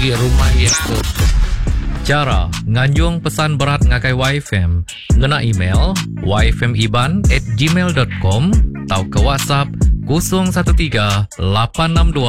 agi rumah iya ke. Chara nganjung pesan berat ngagai YFM ngena email yfmiban at gmail dot com tauka WhatsApp 013 862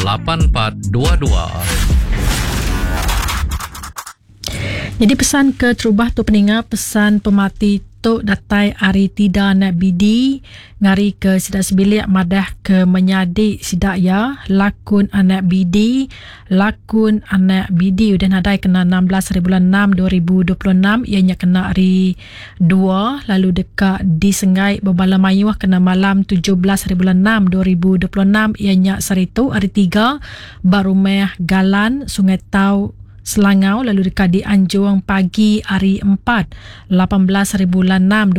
8422. Nyadi pesan ke terubah tu peninga pesan pemati tu datai ari Tida anak Bidi ngari ke sida sebilik madah ke menyadi sida iya lakun anak Bidi lakun anak Bidi udah nadai kena 16 hari bulan 6 2026 iya nya kena hari dua lalu deka disenggai bebala mayuh kena malam 17 hari bulan 6 2026 iya nya sehari tu hari tiga ba rumah Galan Sungai Tau Selangau lalu deka dianjung pagi hari Empat, 18 hari bulan 6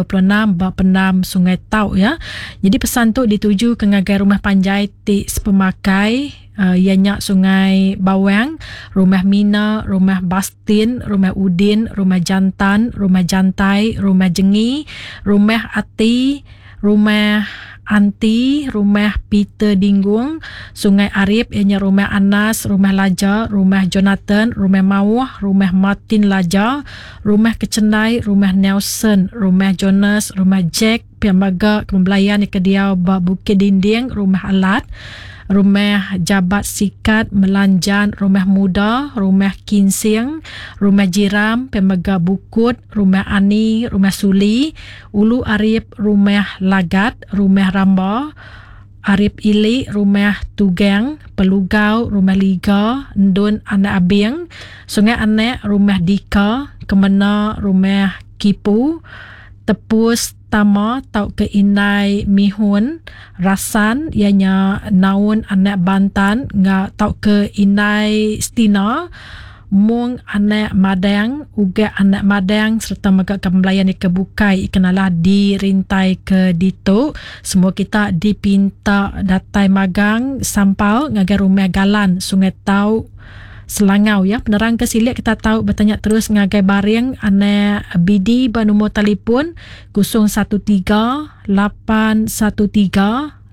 2026 ba pendam Sungai Tau ya. Jadi pesan tu dituju ke ngagai rumah panjai ti sepemakai uh, iya nya Sungai Bawang, Rumah Mina, Rumah Bastin, Rumah Udin, Rumah Jantan, Rumah Jantai, Rumah Jengi, Rumah Ati, Rumah Anti, Rumah Peter Dinggung, Sungai Arip iya nya Rumah Anas, Rumah Laja, Rumah Jonathan, Rumah Mauh, Rumah Martin Laja, Rumah Kechendai, Rumah Nelson, Rumah Jonas, Rumah Jack, pia mega ke belayan ke diau ba Bukit Dinding, Rumah Alat, Rumah Jabat Sikat, Melanjan, Rumah Muda, Rumah Kinsing, Rumah Jiram, pia mega Bukut, Rumah Ani, Rumah Suli, Ulu Arip, Rumah Lagat, Rumah Ramba, Arip Ili, Rumah Tugang, Pelugau, Rumah Liga, Endun Anak Abing, Sungai Anak, Rumah Dika, Kemena, Rumah Kipu, Tepus Tama tauka Indai Mihun, Rasan iya nya Naun Anak Bantan enggau tauka Indai Stina, Mung anak Madang, Ugak anak Madang sereta mega ke belayan ke bukai ikan alah dirintai ke ditu. Semua kita dipinta datai magang sampal ngagai Rumah Galan, Sungai Tau, Selangau ya. Penerang ke silik kita tau betanya terus ngagai Baring anak BD ba nombor telefon 013 813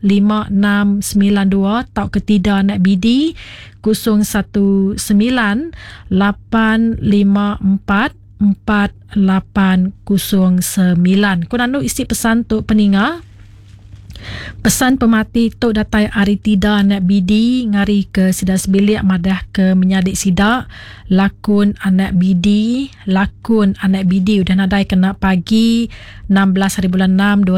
5692 tauka tida anak BD 019 854 4809. Ku nandu isi pesan tu peninga. Pesan pemati tu datai ari tida anak BD ngari ke sida sebilik madah ke menyadi sida lakun anak BD lakun anak BD udah nadai kena pagi 16 hari bulan 6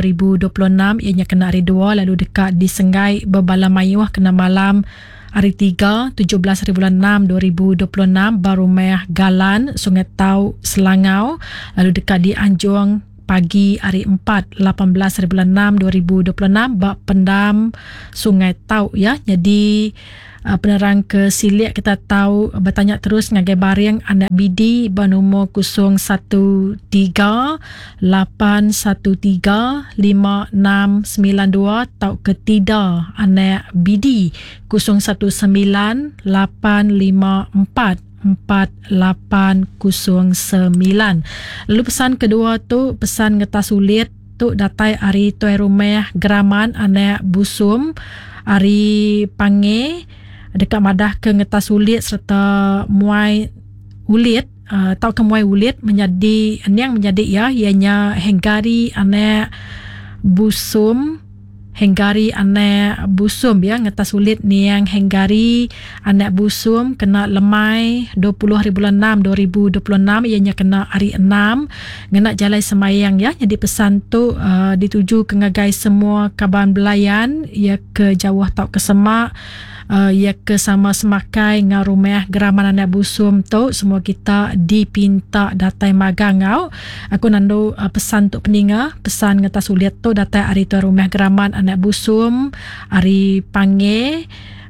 2026 iya nya kena hari dua lalu deka disenggai bebala mayuh kena malam hari tiga 17 hari bulan 6 2026 ba Rumah Galan Sungai Tau Selangau lalu deka dianjung pagi hari 4 18 hari bulan 6 2026 ba Pendam Sungai Tau ya. Jadi Penerang ke silik kita tau betanya terus ngagai Baring anak BD ba numur 013 813 5692 tauka Tida anak BD 019 854 4809. Lalu pesan kedua tu pesan ngetas ulit tu datai ari tuai rumah Geraman anak Busum ari Pange deka madah ke ngetas ulit sereta muai ulit uh, tauka muai ulit menyadi ening menyadi iya iya nya Hengari anak Busum Hengari anak Busum ya ngetas ulit niang Hengari anak Busum kena lemai 20 hari bulan 6 2026 iya nya kena hari 6 ngena jalai sembahyang ya nyadi pesan tu uh, dituju ke ngagai semua kaban belayan iya ke jauh tauka semak uh, iya ke sama semakai enggau rumah Geraman Anak Busum tu semua kita dipinta datai magang enggau aku nandu uh, pesan tu peninga pesan ngetas ulit tu datai ari tuan rumah Geraman Anak Busum ari Pange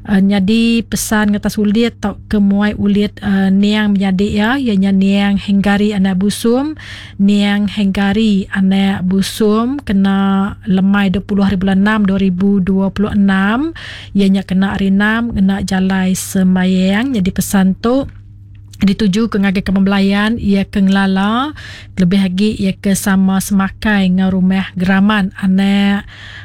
uh, nyadi pesan ngetas ulit tau ke muai ulit uh, niang menyadi iya iya nya niang Hengari Anak Busum Niang Hengari anak Busum kena lemai 20 hari bulan 6 2026 iya nya kena hari 6 ngena jalai sembayang nyadi pesan tu. Dituju ke ngagai kaban belayan iya ke ngelala kelebih agi iya ke sama semakai enggau rumah Geraman anak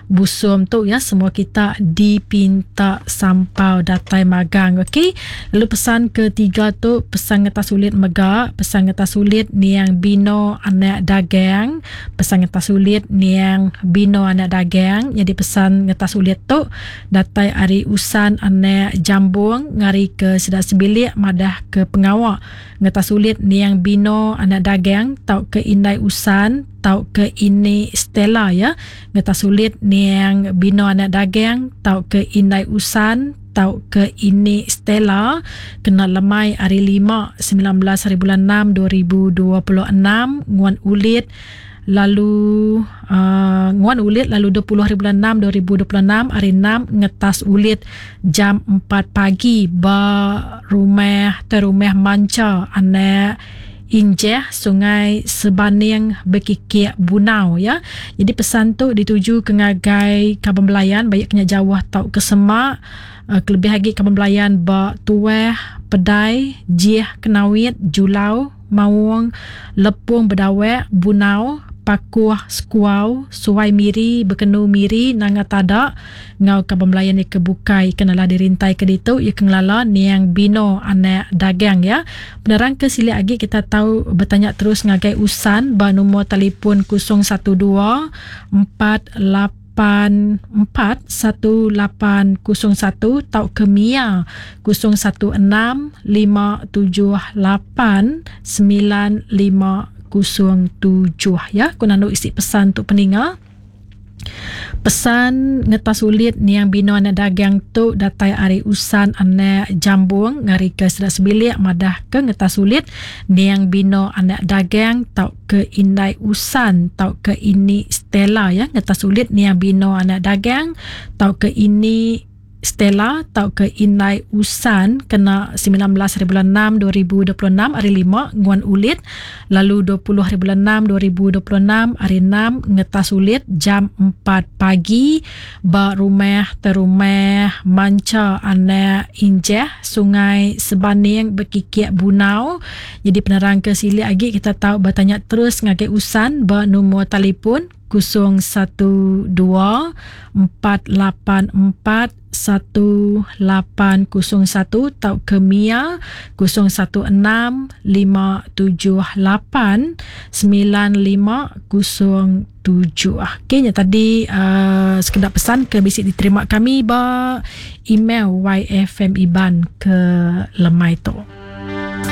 Busum tu ya semua kita dipinta sampau datai magang okey. Lalu pesan ketiga tu pesan ngetas ulit mega pesan ngetas ulit niang Bino anak Dagang pesan ngetas ulit niang Bino anak Dagang nyadi pesan ngetas ulit tu Datai ari Usan anak Jambung ngari ke sida sebilik madah ke pengawa ngetas ulit niang Bino anak Dagang tauka indai Usan tauka ini Stella ya ngetas ulit niang Bino anak Dagang tauka indai Usan tauka ini Stella kena lemai ari 5 19 hari bulan 6 2026 nguan ulit lalu uh, nguan ulit lalu 20 hari bulan 6 2026 hari 6 ngetas ulit jam 4 pagi ba rumah terumah manca anak Injeh Sungai Sebaning Bekikik Bunau ya. Jadi pesan tu dituju ke ngagai kaban belayan baik kena jauh tau ke semak uh, kelebih lagi kaban belayan ba Tuah, Pedai, Jih, Kenawit, Julau, Maung, Lepung Bedawek, Bunau, Pakuh, Sekuau, Suai Miri, Bekenu Miri, Nanga Tada enggau kaban belayan iya ke bukai ke nalah dirintai ke ditu iya ke ngelala niang Bino anak Dagang iya. Penerang ke silik agi kita tau betanya terus ngagai Usan ba numur telefon 012 48 8 4 1 8 0 1 tauka mia 0 1 6 5 7 8 9 5 0 7 ya. Ku nandu isi pesan tu peninga. Pesan ngetas ulit niang bino anak dagang tu datai ari Usan anak Jambung ngari ke sida sebilik madah ke ngetas ulit niang bino anak dagang tau ke indai Usan tauka ini Stella ya ngetas ulit niang Bino anak dagang tauka ini Stella tauka indai Usan kena 19 hari bulan 6 2026 hari 5 nguan ulit lalu 20 hari bulan 6 2026 hari 6 ngetas ulit jam 4 pagi ba rumah terumah Mancha anak Injeh Sungai Sebaning Bekikik Bunau. Jadi penerang ke silik agi kita tau betanya terus ngagai Usan ba numur telefon 012 484 1801 tauka mia 016 578 9507. Okey nya tadi uh, sekeda pesan ke bisi diterima kami ba email YFM Iban ke lemai tu.